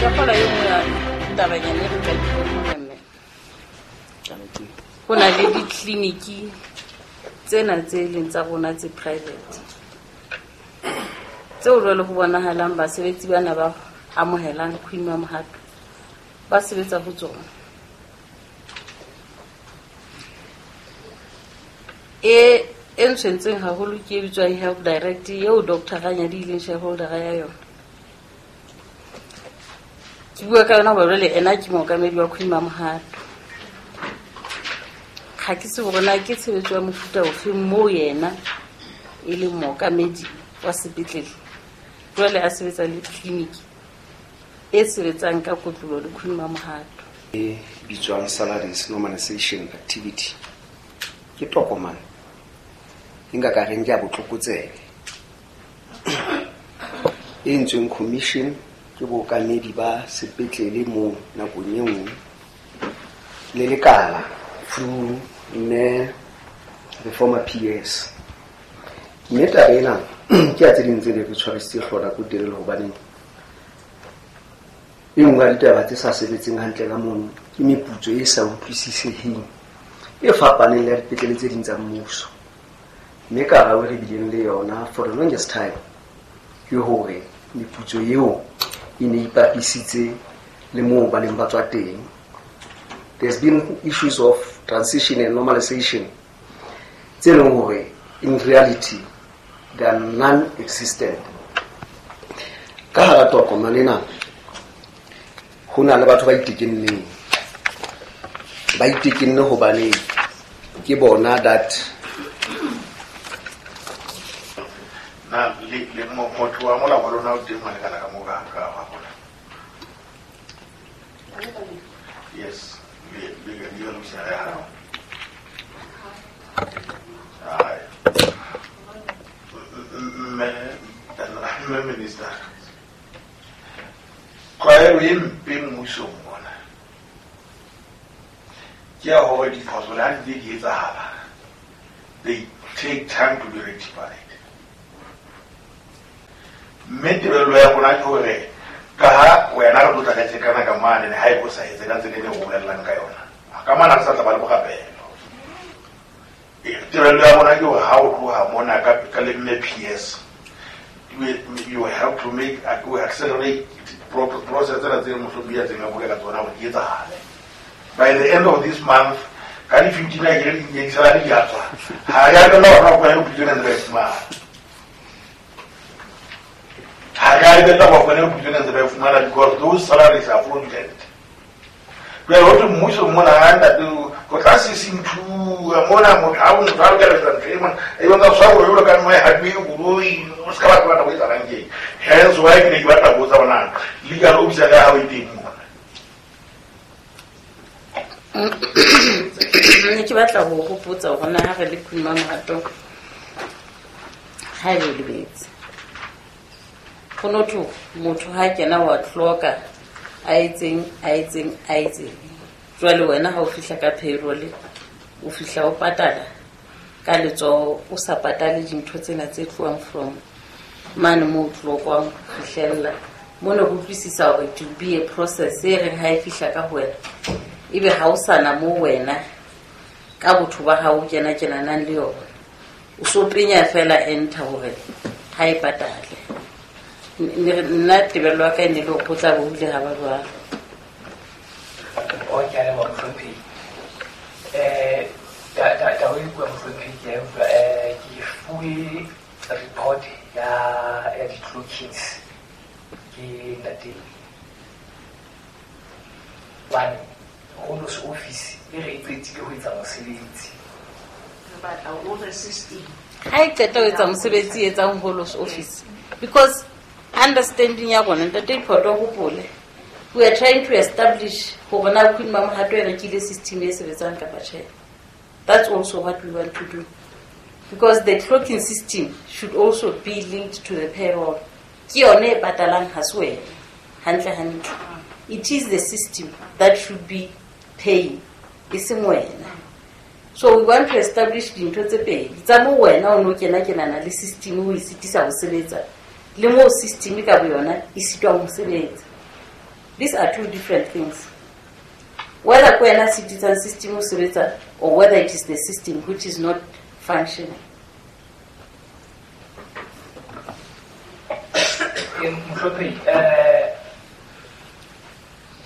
Ke kgola e nngwe ya tabanyana e re ka diponeng mme. Go na le ditleliniki tsena tse e leng tsa rona tse private tseo jwale go bonagalang basebetsi bana ba amogelang Queen Mamohato ba sebetsa go tsona. E ntshwentseng haholo ke e bitswang Health Direct eo Dr Ranyadi e leng shareholder ya yona. Ke bua ka yona hoba jwale ena ke mookamedi wa Queen Mamohato. Ga ke tsebe hore na ke tshebetso ya mofuta ofe moo yena e leng mookamedi wa sepetlele, jwale a sebetsa le tleliniki e sebetsang ka kotlolo le Queen Mamohato. E bitswang salaries normalization activity ke tokomane e nka ka reng ke ya botlokotsebe e entsweng commission ke bookamedi ba sepetlele moo nakong e nngwe le lekala through mme the former PS. Mme taba ena ke ya tse ding tse ne re tshwarisitse hlooho nako e telele, hobaneng e nngwe ya ditaba tse sa sebetseng hantle ka mono ke meputso e sa utlwisiseheng e fapaneng le ya dipetlele tse ding tsa mmuso. Mme karabo e re bileng le yona for the longest time ke hore meputso eo e ne ipapisitse le moo ba neng ba tswa teng. There's been issues of transition and normalization tse leng hore in reality they are non-existent. Ka hara tokomane ena ho na le batho ba itekenneng, ba itekenne hobane ke bona that na le motho wa molao wa lona o teng wa lekala ka mo ka wa bona. Yes, le lo sa ya hao. Ai. Mme minister. Tlwaelo e mpe mmusong mona ke ya hore diphoso le ha di ntse di etsahala, they take time to be rectified. Mme tebello ya rona ke hore ka ha wena re tlotla ka tjekana ka mane, ha e bo sa etse ka tsela e re bolellang ka yona, ka mane re sa tla ba le bogapelo. Tebello ya rona ke hore ha o tloha mona ka le mme PS, you have to make to accelerate process tsena tse mohlomong ya tseng a bolela tsona hore di etsahale. By the end of this month, ka di 15 a kere di di a tswa. Ha re a lebella hore ba fumane moputso ena ntse ba e fumana. Ha re a lebella hore ba fumane moputso ena ntse ba e fumana because those salaries are fraudulent. Jwale ho thwe mmuso mona ha ntate ho tla sesinthuwa mona motho ha motho a lokela ho etsa ntho e mona e bontsha tshwaro jwalo ka nngwe ha duwe koloi o se ka batla batla ho etsahalang teng. Hence why ke ne ke batla ho botsa hore na legal officer ya hao e teng mona. Ne ke batla ho hopotsa hore na ha re le Queen Mamohato ha e lebetse. Ho no thwe motho ha kena wa hloka a etseng a etseng a etseng. Jwale wena ha o fihla ka payroll o fihla o patala ka letsoho o sa patale dintho tsena tse tlohang from mane moo o tlokwang ho fihlella. Mona ho utlwisisa hore it will be a process e reng ha e fihla ka ho wena ebe ha o sana moo wena ka botho ba hao o kena kenanang le yona. O so penya fela enter hore ha e patale. Nna tebello ya ka e ne le hore ho tla be ho ile ha ba jwalo. O ke a leboha mohlomphehi. Taba e bua mohlomphehi ke a utlwa. Ke fuwe report ya di-clockings ke ntate hobane Holos office e re e qetile ho etsa mosebetsi. Re batla o re system. Ha e qeta ho etsa mosebetsi e etsang Holos office because understanding ya rona ntate Iphoto hopole we are trying to establish hore na Queen Mamohato e rekile system e sebetsang kapa tjhe. That's also what we want to do because the clocking system should also be linked to the payroll. Ke yone e patalang ha se wena hantle hantle. It is the system that should be paying e seng wena. So we want to establish dintho tse pedi tsa mo wena o no kena kenana le system o e sitisa ho sebetsa le moo system ka boyona e sitwang ho sebetsa. These are two different things. Whether ke wena sitisang system ho sebetsa or whether it is the system which is not functioning. Mohlomphehi,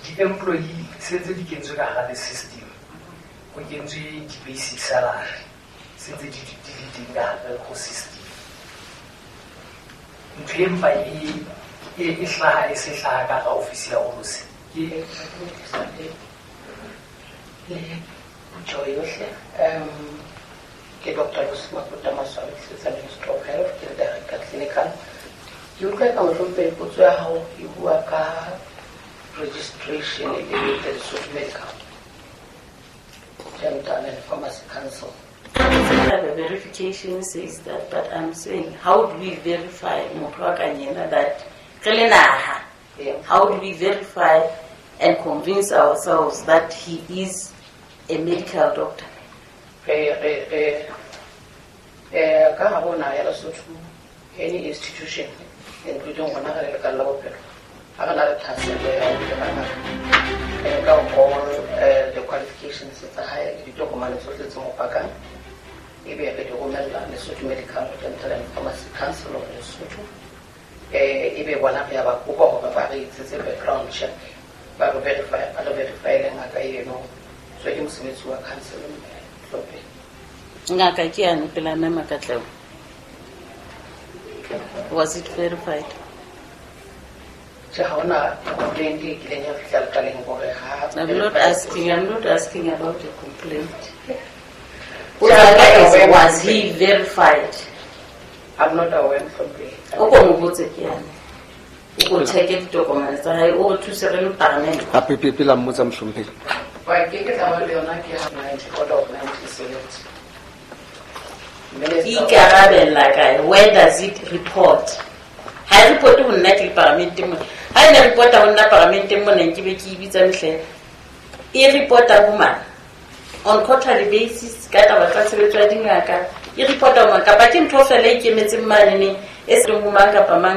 di-employee se ntse di kentswe ka hara the system. Ho kentswe di-basic salary se ntse di le teng ka hare ho system. Ntho e mpa e hlaha e se hlaha ka hara ofisi ya Olosi ke le phutheho yohle. Ke Dr. Lucy Makuta Maswabi, ke sebetsa Ministry of Health, ke le director clinical. Ke utlwa ka mohlomphehi potso ya hao e bua ka registration le the Lesotho Medical Dental and Pharmacy Council. The verification says that, but I'm saying, how do we verify motho wa ka yena that re le naha? How do we verify and convince ourselves that he is a medical doctor? Re re re ka hare ho naha ya Lesotho, any institution including rona re le lekala la bophelo, ha re na le thahasello ya ho kena ngaka, re nka all the qualifications tsa hae le ditokomane tsohle tse mo pakang, ebe re di romella Lesotho Medical Dental and Pharmacy Council of Lesotho. Ebe bona re ya ba kopa hore ba re etsetse background check, ba re verify, ba re verify-ele ngaka eno. So ke mosebetsi wa council, mohlomphehi. Ngaka ke yane pela mme Makatleho. Was it verified? Tjhe, ha hona complaint e kileng ya fihla lekaleng hore ha I'm not asking about a complaint. Potso was he verified? I'm not aware, mohlomphehi. O ko mo botse ke yane. O ko check-e ditokomane tsa hae, o re thuse re le paramente. Gape pele a mmotsa, mohlomphehi. Wa ke ke tla ba le yona ke 90 order of 1970. E ikarabella kae? Where does it report? Ha e report ho nna ke le paramenteng mona. Ha e ne reporta ho nna paramenteng mona, nke be ke e bitsa mehleng. E reporta ho mang? On quarterly basis ka taba tsa tshebetso ya dingaka. E reporta ho mang? Kapa ke ntho fela e ikemetseng manene e seng ho mang kapa mang?